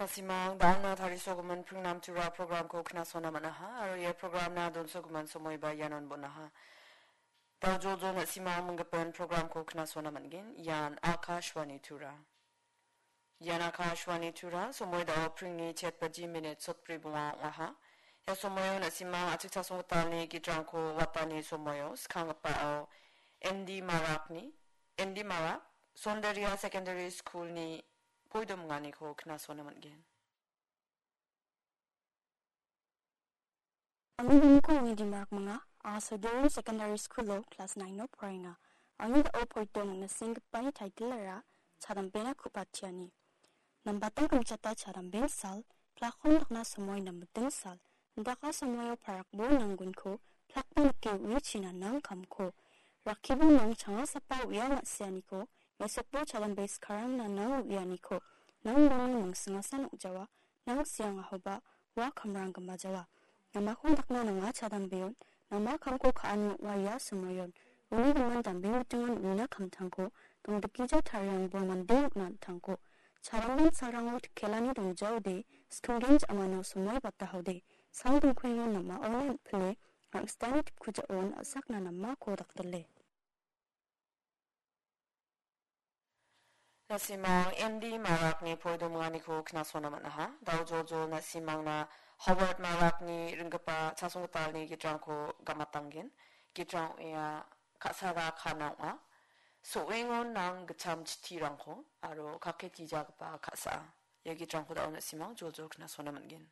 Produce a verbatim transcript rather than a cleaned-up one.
Na·simang, da·alna tarisogimin Pringnam Tura programko knasona man·aha, aro ia programna donsogimin somoiba ianon bon·aha. Dao joljol na·simang minggipin programko knasona man·gen. Ian Akashvani Tura. Ian Akashvani Tura, somoi dao pringni chet baji minit sotbri bonga ong·aha. Ia somoio na·simang achik chasonggitalni gitrangko watani somoio skanggipao M D Marakni, M D Marak, Sondaria Secondary Schoolni poidominganiko knasona man·gen. Angni bimingko angni dimarak manga, anga Sodori Secondary School-o class nine-o poraenga. Angni da·o poitong nasinggipani title-ara Chadambena Ku·patiani. Nambatang kimchata chadamben sal, plakon dakna somoi nambiting sal, indaka somoio parakbo nanggunko, plakba nike uichina nang kamko. Rakkibo nang changasapa uia ma·sianiko, mesokbo chadambe skarangna nang uianiko, nang bangni mingsingasan ong·jawa, nang siangahoba ua kamrang gimajawa. Namako dakna nanga chadambeon, nama kamko ka·ani ong·a ia somoion. Uni gimin dambeng bitingon uina kamtangko, dongdikgija tariangbo mande nikna an·tangko. Chadamben salrango tikkelani dongjaode, skinggen ja·mano somoi batahaode, sal dongkuengon namaona an·pile, angsitani tipkujaon a·sakna namako dakdile. Na·simang M D Marakni poidominganiko knasona man·aha. Dao joljol na·simangna Howard Marakni ringgipa chasonggitalni gitrangko gamatanggen. Gitrang ong·a ka·sara kana ong·a. So·engon nang gitcham chitirangko aro kaketgijagipa ka·sa. Ia gitrangko dao na·simang joljol knasona man·gen.